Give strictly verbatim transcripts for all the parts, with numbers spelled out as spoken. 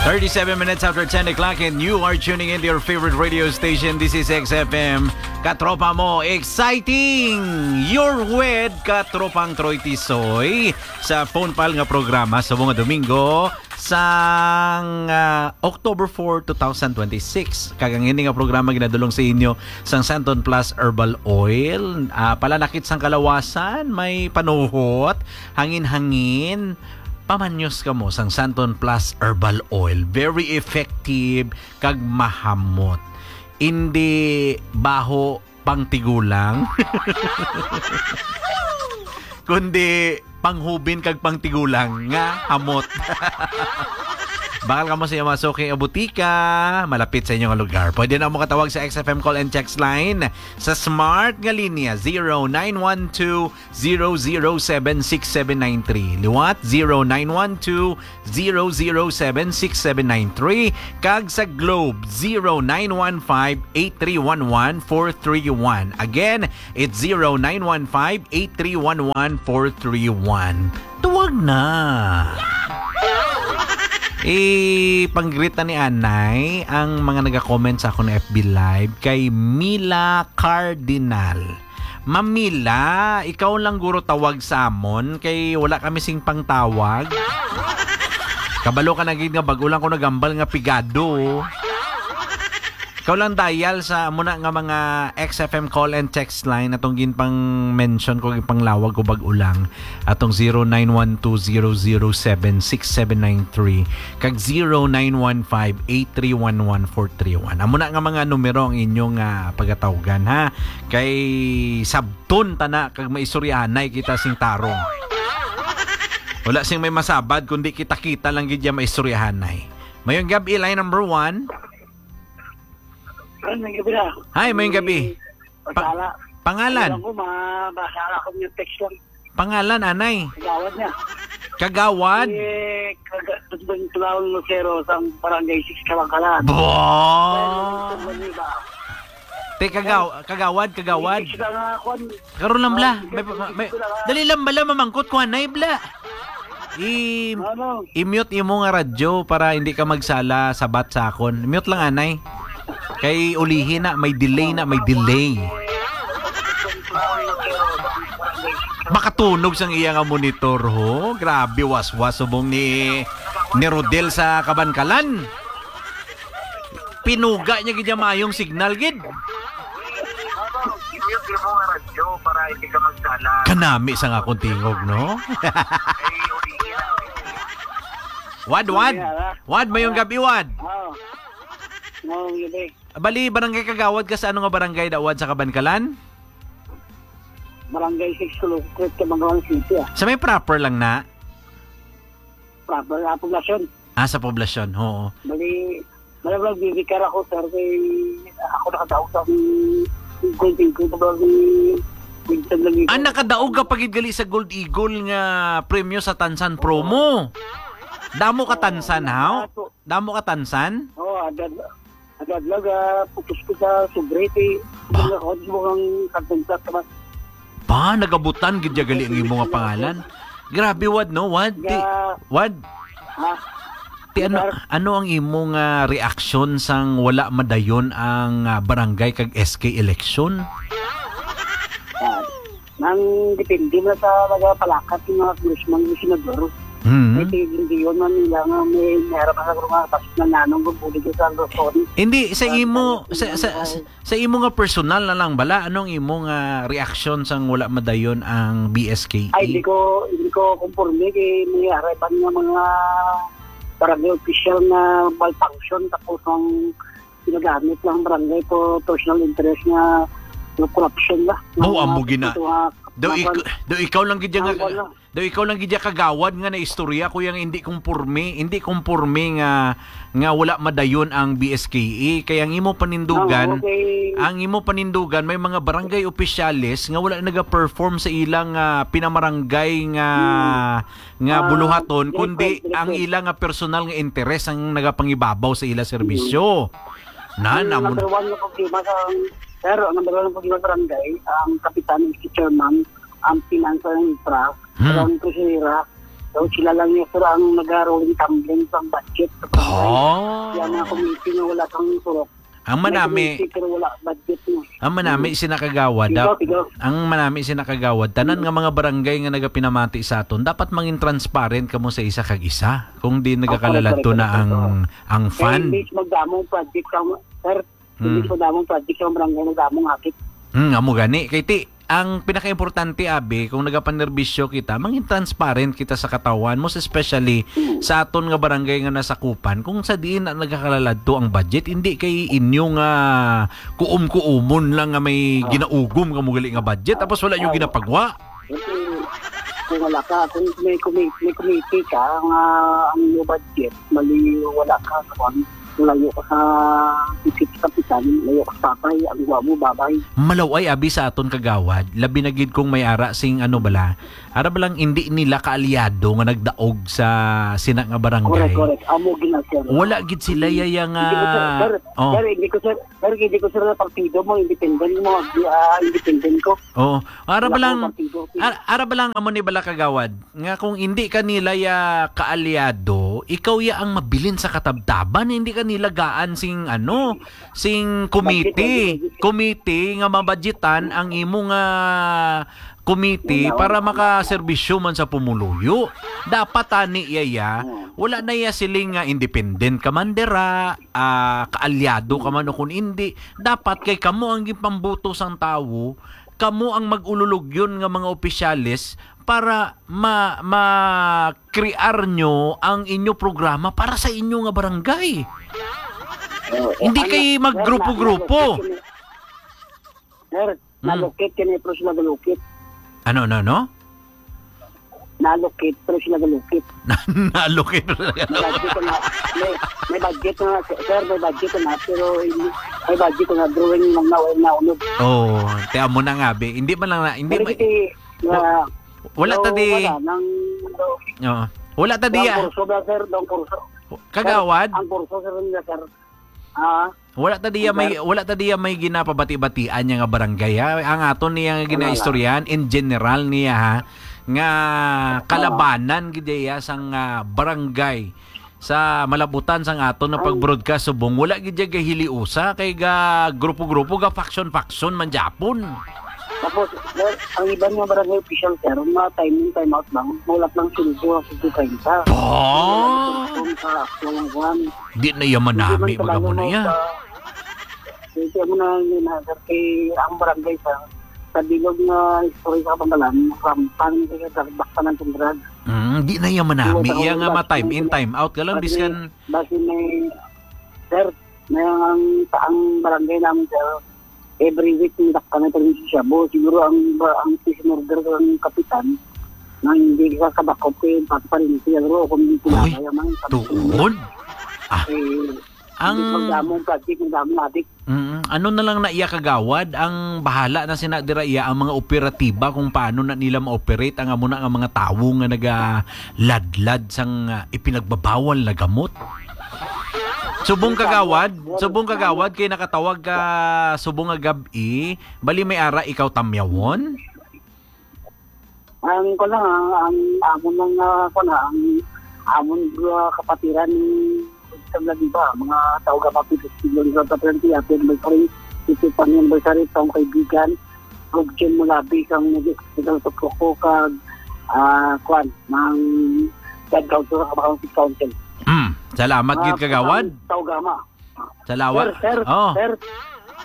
Thirty-seven minutes after ten o'clock, and you are tuning in to your favorite radio station. This is X F M. Katropa mo, exciting! You're with Katropang Troy Tisoy sa Phone Pal nga programa sa mga Domingo sang, ah, October four, two thousand twenty-six. Kag ang ini nga programa ginadulong sa inyo sang Santon Plus Herbal Oil. Ah, palanakit sang kalawasan, may panuhot, hangin-hangin, pamanyos kamo sang Santon Plus Herbal Oil. Very effective kag mahamot. Indi baho pang tigulang, kundi panghubin kag pang tigulang nga hamot. Bakal kamo sa inyong mga suki nga butika, malapit sa inyong lugar. Pwede na mo katawag sa X F M call and text line sa smart nga linya, zero nine one two, zero zero seven, six seven nine three. Liwat, zero nine one two, zero zero seven, six seven nine three, kag sa Globe, zero nine one five, eight three one one, four three one. Again, it's zero nine one five, eight three one one, four three one. Tuwag na! Eh, pang-greet na ni Anay ang mga naga-comment sa akong F B Live kay Mila Cardinal. Ma'am Mila, ikaw lang guro tawag sa amon kay wala kami sing pangtawag. Kabalo ka na gid nga bag-o lang ko nagambal nga pigado. Ikaw lang dial sa amo na nga mga X F M call and text line atong ginpang-mention ko, ginpanglawag ko bag-o lang. Atong zero nine one two zero zero seven six seven nine three kag zero nine one five eight three one one four three one. Amo na nga mga numero ang inyong, ah, pagatawgan, ha. Kay sabton ta na kag maistoryahanay kita sing tarong. Wala sing may masabad kundi kita-kita lang gid ya maistoryahanay. Mayong gabi, line number one. Ay, may gabi na. Hi, mayong gabi. Pasala. Pangalan? Alam ko, mabasa ako yung text lang. Pangalan, anay? Kagawad niya. Kagawad? Eh, kaga-, Dudong Clown Lucero sa Barangay six Kalangkalan. Bo! Pero, Te, kagaw-, kagawad, kagawad. Six ka nga, kwan. Karon lang, bla. Oh, May, sige, may, sige, sige, sige. Dali lang, bala, mamangkot ko, anay, bla. I-, Ano? I-mute imo nga radyo para hindi ka magsala sabat sa akon. Mute lang, anay. Kay ulihi na, may delay na, may delay. Makatunog sang iya nga monitor, ho. Grabe, waswas, subong ni, ni Rodel sa Kabankalan. Pinuga niya gid ang maayong signal gid. I-mute mo nga radyo para hindi ka magsala. Kanami sa nga akong tingog, no? Wad, wad. Wad, mayong gabi, wad. Oh. Mayong gabi. Bali, barangay kagawad ka sa ano nga barangay, da, wad, sa Kabankalan? Barangay six, Kulukret, Kabankalan City, ah. Sa may proper lang na? Proper, ah, poblasyon. Ah, sa poblasyon, oo. Bali, bali, bali, bibikar ako, sir, kay ako nakadaog sa Golden Gold, bali, minsan lang yun. Ah, nakadaog ka pa gid gali sa Gold Eagle nga premyo sa Tansan promo. Damo ka Tansan, ha? Damo ka Tansan? Oo, agad, agad lang, ah, putos ko sa sobre, kay Ba? Wala ko, di mo kang kagtungkat naman. Ba, nagabutan gid ya gali ang imo nga pangalan. Grabe, wad, no? Wad, ti-, Ya. Wad. Ha? Ti, ano, Sir? Ano ang imo nga reaksyon sang wala madayon ang, ah, barangay kag S K election? Ah, nang depende na sa nagapalakat ng mga congressman, yung senador. Mhm. May tigil man nila nga may, may harap sa mga pasok na nanong gumuli sa Luzon. Hindi, sa Ah, imo, sa, sa, sa, sa, sa imo nga personal na lang bala, anong imo nga reaksyon sang wala madayon ang B S K E? Ay, hindi ko, hindi ko kumporme kay may harapan nga mga barangay official nga malfunction, tapos ang ginagamit lang barangay for personal interest nga, nga corruption ba. Mao Nga amo mga gina-, ito nga, daw mga ik-, daw ikaw lang gid nga, ang wala. Daw ikaw lang gid ya kagawad nga naistorya, kuya, nga hindi kumporme, hindi kumporme nga, nga wala madayon ang B S K E. Kay ang imo panindugan, No, okay. Ang imo panindugan, may mga barangay opisyales nga wala naga-perform sa ilang, ah, pinamarangay nga, Hmm. nga Ah, buluhaton, yes, kundi yes, yes, ang yes. Ila nga personal nga interes ang nagapangibabaw sa ila serbisyo. Hmm. Na, Ang namo- number one nga problema sa, sir, ang number one nga problema sa barangay, ang kapitan, ang chairman, ang finance and infra, Hmm. ang treasurer, So, sila lang yung sir ang nag-rolling tumbling sa budget. Sa barangay. Oh. Kaya mga committee na wala kang surok. Ang manami, May committee, pero wala budget na. Ang manami, Mm. sina kagawad, Ikaw, dap-, ikaw. ang manami, sina kagawad, tanan Mm. nga mga barangay nga nagapinamati sa aton, dapat mangin transparent kamo sa isa kag isa. Kung di Oh, nagakalaladto correct, correct, na correct, ang, correct. ang Kaya fund. Imbis magdamong project sa, sir, Mm. imbis magdamong project sa barangay, nagdamong akit. Mm, amo gani. Kay ti, ang pinakaimportante, abi, kung nagapanerbisyo kita, mangin transparent kita sa katawhan, most especially Mm. sa aton nga barangay nga nasakupan, kung sa diin na nagakalaladto ang budget, hindi kay inyo nga kuom-kuomon lang nga may Ah. ginaugom kamo gali nga budget, tapos wala nyo Ah. ginapagwa. Kasi kung wala ka, kung may committee, may committee ka nga ang iyong budget, mali, wala ka, kung layo ka sa isip sa kapitan, layo ka sa tatay, ang guwa mo, babay. Malaway abi sa aton kagawad, labi na gid kung may ara sing ano bala, ara balang hindi nila kaalyado nga nagdaog sa sina nga barangay. Correct, correct. Amo gina, sir. Wala gid sila yaya nga Hindi ko, sir, sir, Oh. sir, hindi ko, sir, sir, hindi ko, sir, na partido mo, independent mo, ah, independent ko. Oo. Ara Wala balang, akong partido. ar-, ara balang amo ni bala kagawad, nga kung hindi ka nila ya kaalyado, ikaw ya ang mabilin sa katabtaban, hindi ka nila gaan sing ano, sing committee, Budget, budget. committee nga mabudgetan ang imo nga committee Wala, para wala. makaserbisyo man sa pumuluyo. Dapat tani iya ya, Hmm. wala na iya siling nga independent ka man dira, ah, kaalyado ka man o kung hindi. Dapat kay kamo ang gipambuto sang tawo, kamo ang mag-ululugyon nga mga opisyales para ma-, ma-crear nyo ang inyo programa para sa inyo nga barangay. Oo, Hindi ano, kay sir, magrupo-grupo. na-, na-, sir, Hmm. nalukit kini, pero sila galukit. Ano, ano, ano? Nalukit, pero sila galukit. Nalukit, pero sila May budget na, may, may budget na, sir, may budget na, pero hindi, may budget na, drawing lang na, wala na, unod. Oo, te, amo na nga, be. Hindi man lang na, hindi Pero ma-, kasi, wa-, na, wala so, ta di, wala, nang, oo. Wala ta di, ang ah. kurso ba, sir? Ang kurso. Kagawad? Sir, ang kurso, sir, nila, sir. Ah, Wala ta diya may, Sir? wala ta diya may ginapabati-batian niya nga barangay, ha. Ang aton niya nga Wala. ginaistoryahan in general niya, ha, nga Oo. kalabanan gid iya sang, ah, barangay sa malabutan sang aton nga Ang pag-broadcast subong wala gid iya gahiliusa kay ga grupo-grupo, ga faction-faction man gyapon. Tapos, sir, ang iban nga barangay official, sir, mga timing, time out lang, mulat lang sundo ang sundo treinta. Ba? Kung sa, sa, Di na iya manami, Hindi man baga mo na kabalo iya. sa, hindi mo na, hindi na, sir, kay ang barangay sa, sa bilog nga istorya sa Kabangalan, rampang, kaya baktan ang sundran. Mm, di na iya manami. Iwan Iya ako nga ng ma-time in, time out ka lang, Kasi, biskan basi may, sir, may ang, ang barangay namin, sir, every week, may dakpan na tayo sa shabu. Siguro ang, ang peace and order ko ang kapitan, nang hindi ka kadakop ko yung pagparinti, pero kung hindi Hoy, sila kaya man, sabi ko, tuon? Ah, eh, ang hindi magdamong plastic, magdamong adik. Mm, ano na lang na iya kagawad, ang bahala na sina dira iya ang mga operatiba kung paano na nila ma-operate ang amo na nga mga tawo nga nagaladlad sang, ah, ipinagbabawal na gamot. Subong kagawad, subong kagawad kay nakatawag ka subong nga gab-i, bali may ara ikaw tamyawon? Ang ko lang, ang, ang amon lang, ah, ko na, ang amon, ah, kapatiran ni Mister Ladiba, mga tao ka papi fifty years old, kapatiran ti Ate Anniversary, fifty anniversary, taong kaibigan, Rubjen Mulabi, kang nag-hospital sa Coco, kag, ah, kwan, ng Blood Council, sa Kabakan City Council. Mm, salamat Mga gid, kagawad. Tao Gama. Salamat. Sir, sir, Oh. sir,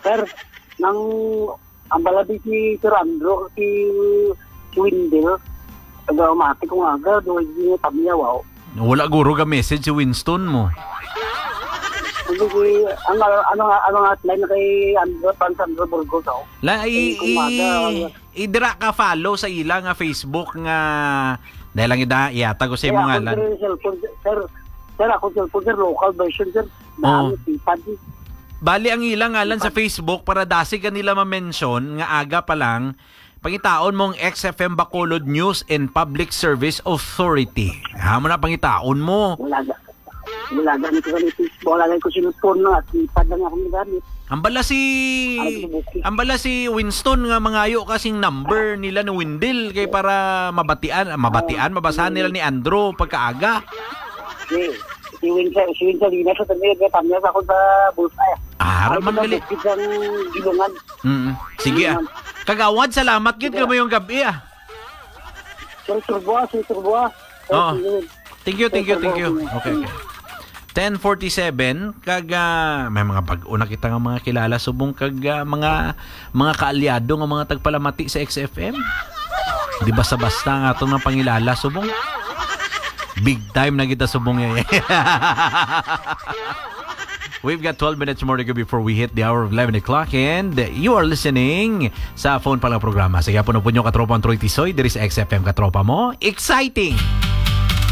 sir, nang ang balabi si Sir Andrew, si, si Windel, taga Umati kung aga, doon yung tamya, wow. Wala guro ga message si Winston mo. Hindi, si, ang, ano nga, ano nga, line na kay Andrew, Pan Sandro Burgos, oh. La, i-, Eh, kung aga, i-, ang i-, dira ka follow sa ila nga Facebook nga, dahil lang ida, iyatag ko sa Kaya imong ako, ngalan. Sir, cellphone, sir, sir, ako cellphone, sir, local version, sir. Oh. Daan, sipad, eh. Bali, ang ila ngalan sa Sipad. Facebook, para dasig ka nila ma-mention, nga aga pa lang, pangitaon mong X F M Bacolod News and Public Service Authority. Ha, mo na pangitaon mo. Wala na. Wala gani ko gani Facebook, wala gani ko cellphone, no, at iPad lang akong gamit. Ang bala si Ay, subuki. Ang bala si Winston nga mangayo kasing number nila ni Windel kay para mabatian, mabatian, mabasahan nila ni Andrew pagkaaga. Si, si Winston, si Winston, di na sa tabi, may pamilya sa ako sa bulsa. Ah, haraman gali. Isang gilungan. Mm. Sige ah. Kagawad, salamat gyud kamo yung gabi ah. Sir Turbo, Sir Turbo. Oo. Thank you, thank you, thank you. Okay, okay. ten forty-seven, kag ah, may mga bag-o na kita nga mga kilala subong kag ah, mga mga kaalyado nga mga tagpalamati sa X F M. Di basta-basta nga atong nang pangilala subong. Big time na kita subong eh. We've got twelve minutes more to go before we hit the hour of eleven o'clock, and you are listening sa Phone Pala programa. Sa gihapon po nyo, Katropa, ang Troy Tisoy, diri sa X F M, Katropa mo. Exciting!